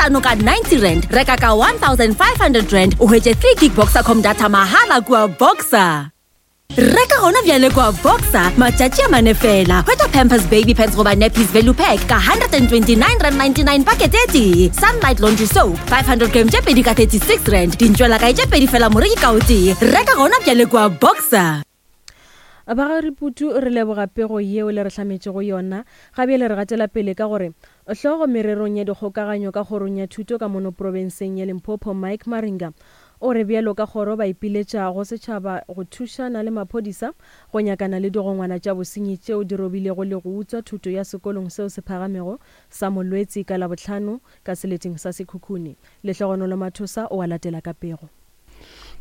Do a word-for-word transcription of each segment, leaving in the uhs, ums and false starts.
hlano ka ninety rand. Reka ka one thousand five hundred rand o hwetše three gig Boxercom data mahala kua Boxer. Reka gona bjale kua Boxer matšatši a mane fela. Hwetša Pampers baby pants goba nappies value pack ka hundred and twenty-nine rand ninety-nine pakete e tee. Sunlight laundry soap five hundred gram tše pedi ka thirty-six rand. Dintšwelakae tše pedi fela moreki ka o tee. Reka gona bjale kua Boxer. Ba ga Riputu re leboga pego yeo le re hlametšego yona. Ga bjale re gatela pele ka gore hlogo mererong ya dikgokaganyo ka kgorong ya thuto ka mono profenseng ya Limpopo Mike Maringa o re bjalo ka kgoro ba ipiletša go setšhaba go thušana le maphodisa go nyakana le digongwana tša bosenyi tšeo di robilego le go utswa thuto ya sekolong seo se phagamego sa Molwetsi ka Labohlano ka seleteng sa Sekhukhune. Lehlogonolo Mathosa o a latela ka pego.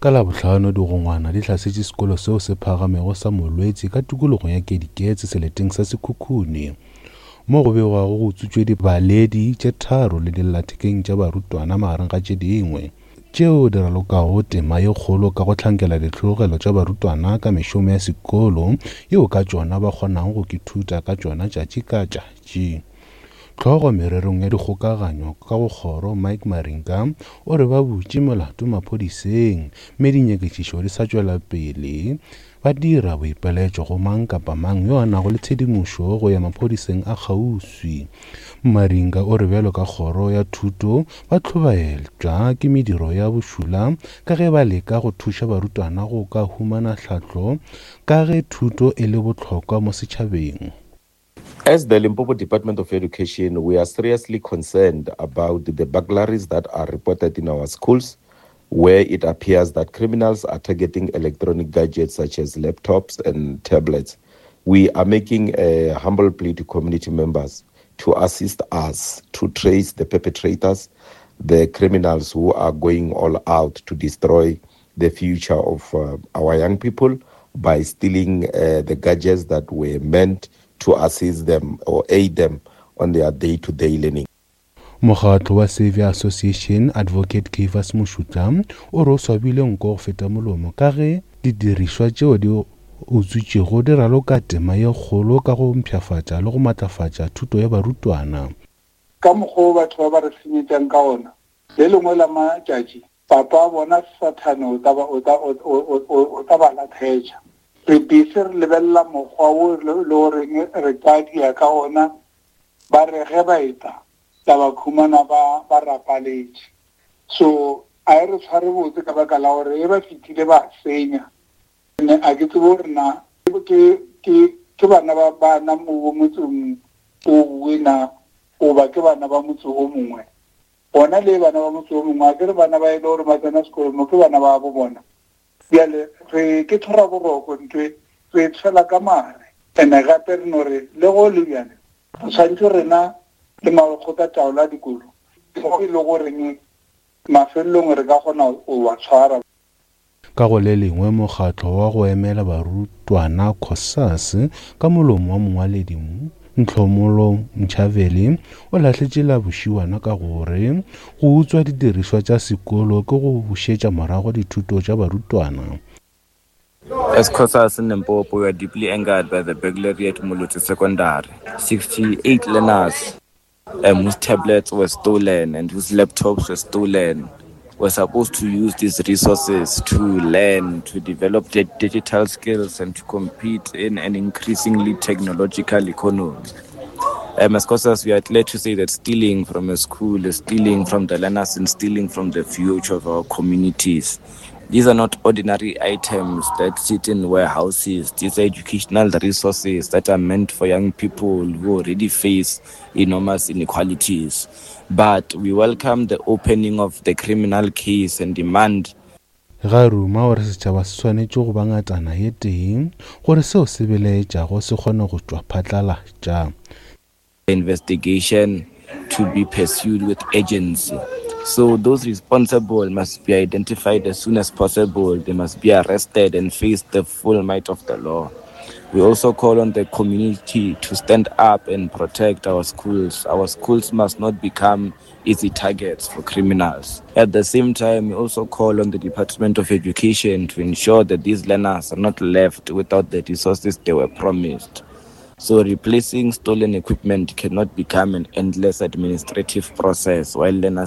Ka Labohlano digongwana di hlasetše sekolo seo se phagamego sa Molwetsi ka tikologong ya Kediketse seleteng sa Sekhukhune mo go begwago go utswitšwe dibaledi tše tharo le dillathekeng tša barutwana magareng ga tše dingwe tšeo di ralokago tema ye kgolo ka go hlankela ditlhologelo tša barutwana ka mešomo ya sekolo yeo ka tšona ba kgonago go ithuta ka tšona tšatši ka tšatši. Hlogo mererong ya dikgokaganyo ka go kgoro Mike Maringa o re ba butše molato maphodiseng mme dinyakišišo di sa tšwela pele. Ba dira boipiletšo go mang kapa mang yo a nago le tshedimošo go ya maphodiseng a kgauswi. Maringa o re bjalo ka kgoro ya thuto ba hlobaetšwa ke mediro ya bošula ka ge ba leka go thuša barutwana go ka humana tlhahlo ka ge thuto e le bohlokwa mo setšhabeng. As the Limpopo Department of Education, we are seriously concerned about the burglaries that are reported in our schools, where it appears that criminals are targeting electronic gadgets such as laptops and tablets. We are making a humble plea to community members to assist us to trace the perpetrators, the criminals who are going all out to destroy the future of, uh, our young people by stealing, uh, the gadgets that were meant to assist them or aid them on their day-to-day learning. Mokgatlo wa Saviour Association Advocate Caiphus Moshutla o re o swabile nko go feta molomo ka ge didirišwa tšeo di utswitšwego di raloka tema ye kgolo ka go mpshafatša le go matlafatša thuto ya barutwana. Ka mokgwa o batho ba ba re senyetšang ka ona, le lengwe la matšatši papa bona Sathane o tla ba, o tla, o, o, o, o tla ba latlhetša. Re busy re lebelela mokgwa wo le, le goreng re ka dia ka ona, ba re ge ba eta tla ba khumana ba, ba rapaletše. So a e re tshware botse ka baka la gore e ba fetile ba senya. Ne a ke tsebe gore na ke, ke, ke bana ba bana mo motseng o bue na, goba ke bana ba motse o mongwe. Bona le bana ba motse o mongwe, a ke re bana ba e le gore ba tsena sekolo mo ke bana ba bo bona. Bjale re ke tlhora boroko ntwe re tshwela ka mare. Ene gape re no re le go le bjale re tshwanetse rena le makgotla taolo a dikolo go e le goreng mafelelong re ka kgona go ba tshwara. Ka go le lengwe mokgatlo wa go emela barutwana COSAS ka molomo wa mongwaledi Ntlhomolo Mchaveli o lahletše la bošiwana ka gore go utswa didirišwa tša sekolo ke go bušetša morago dithuto tša barutwana. As COSAS in Limpopo, we are deeply angered by the burglary at Molotsi Secondary. sixty-eight learners, um, whose tablets were stolen and whose laptops were stolen were supposed to use these resources to learn, to develop their digital skills and to compete in an increasingly technological economy. Um, as COSAS, we are glad to say that stealing from a school is stealing from the learners and stealing from the future of our communities. These are not ordinary items that sit in warehouses. These are educational resources that are meant for young people who already face enormous inequalities. But we welcome the opening of the criminal case and demand. Ga ruma gore setšhaba se swanetše go ba ngatana ye tee gore seo se belaetšago se kgone go tšwa phatlalatša. Investigation to be pursued with urgency. So those responsible must be identified as soon as possible. They must be arrested and face the full might of the law. We also call on the community to stand up and protect our schools. Our schools must not become easy targets for criminals. At the same time, we also call on the Department of Education to ensure that these learners are not left without the resources they were promised. So replacing stolen equipment cannot become an endless administrative process while learners